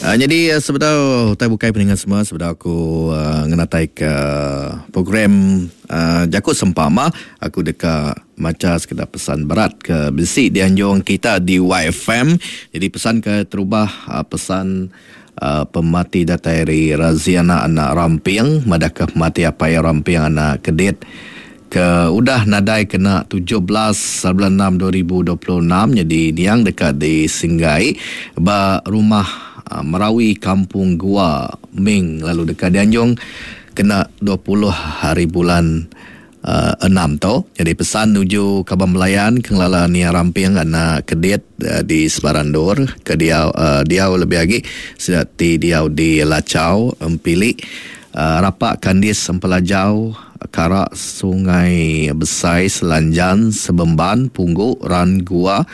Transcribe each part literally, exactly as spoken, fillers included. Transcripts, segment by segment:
Uh, jadi uh, sebedau utai bukai peningan semua, sebedau aku uh, ngenatai ke program uh, Jaku Sempama, aku deka maca sekedar pesan berat ke bisi dianjung kita di Y F M. Jadi pesan ke terubah uh, pesan uh, pemati datai dari Raziana anak Ramping, madahka pemati apai Ramping anak Kedit ke udah nadai kena tujuh belas bulan enam dua ribu dua puluh enam. Jadi niang dekat di Singgai ba rumah uh, Merawi Kampung Gua Ming, lalu dekat dianjung kena dua puluh hari bulan uh, enam tu. Jadi pesan nuju Kaban Melayan kengelala Nia Ramping anak Kedit uh, di Sebarandor ke diau, uh, diau lebih lagi sedati diau di Lacau Empili, uh, Rapak Kandis Empelajau Karak Sungai Besai Selanjan Sebemban Punggu Ran Gua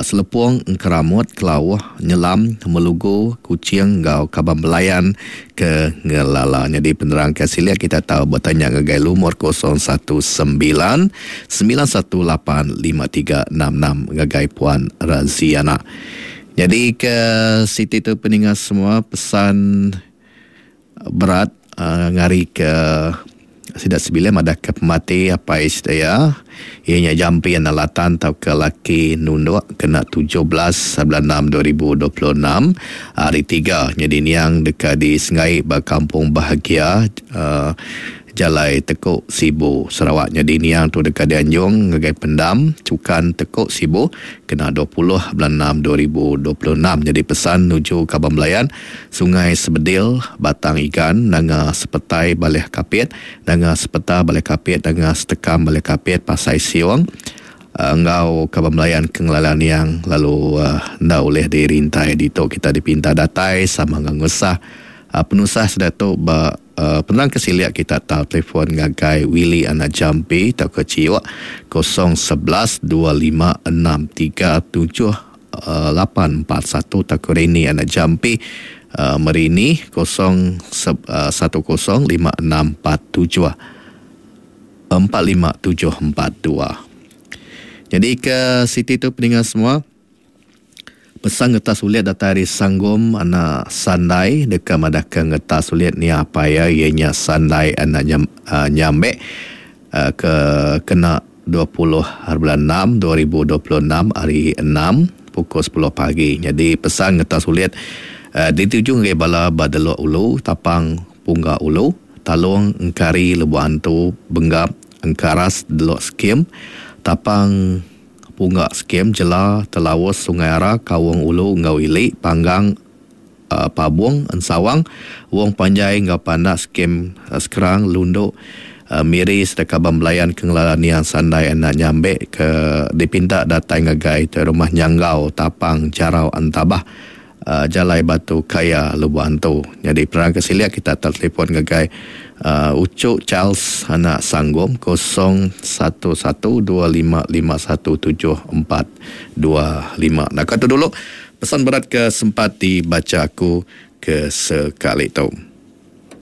Selepung Engkeramut Kelauh Nyelam Melugu Kuching ngau Kaban Belayan ke ngelala. Jadi penerang ke silia kita tahu bertanya ngagai lumur kosong satu sembilan sembilan satu lapan lima tiga enam enam ngagai Puan Raziana. Jadi ke Siti tu peningat semua pesan berat uh, ngari ke sidak sebilah madah ke pemati apa isdaya ianya jampi analatan tau ke laki nunduk kena tujuh belas bulan enam dua ribu dua puluh enam hari tiga. Jadi niang dekat di Sengai ba Kampung Bahagia uh, Jalai Tekuk Sibu Sarawak. Jadi niang tu dekat dianjung ngagai pendam Cukan Tekuk Sibu kena dua puluh bulan enam dua ribu dua puluh enam. Jadi pesan nuju Kaban Belayan Sungai Sebedil Batang Igan Nanga Sepetai Baleh Kapit Nanga Sepeta Baleh Kapit Nanga Setekam Baleh Kapit Pasai Siong ngau Kaban Belayan kengelalan yang lalu uh, nda oleh dirintai dito kita dipinta datai sama ngusah uh, penusah sudah tu ba Uh, penerang kesiliak kita tahu telefon ngagai Willy anak Jampi atau ke Ciwak kosong sebelas dua lima enam tiga tujuh lapan empat satu atau ke Reni anak Jampi uh, Merini kosong satu kosong lima enam empat tujuh empat lima tujuh empat dua. Jadi ke Siti tu pendengar semua pesan ngetas sulit datang dari Sanggom anak Sandai dekat madahkan ngetas sulit ni apa ya ianya Sandai anak nyam, uh, Nyambek uh, ke kena dua puluh bulan enam dua ribu dua puluh enam hari enam pukul sepuluh pagi. Jadi pesan ngetas sulit uh, dituju ke bala Badelok Ulu Tapang Pungga Ulu Talung Engkari Lebuh Antu Benggap Engkaras Delok Skim Tapang Punggak Skim Jela Telawus Sungai Ara Kawung Ulu Ngau Ili Panggang uh, Pabung Ensawang Wong Panjai Ngau Pandak Skim uh, Sekerang Lunduk uh, Miri serta Kaban Belayan Kengelala Niang Sandai anak Nyambek ke dipinta datang ngagai ke rumah Nyanggau Tapang Jarau Antabah uh, Jalai Batu Kaya Lubuk Antu. Jadi perang kesilia kita telefon ngagai Uh, Ucuk Charles anak Sanggom kosong satu satu dua lima lima satu tujuh empat dua lima. Nah, kata dulu pesan berat ke sempat dibaca aku ke sekali tu.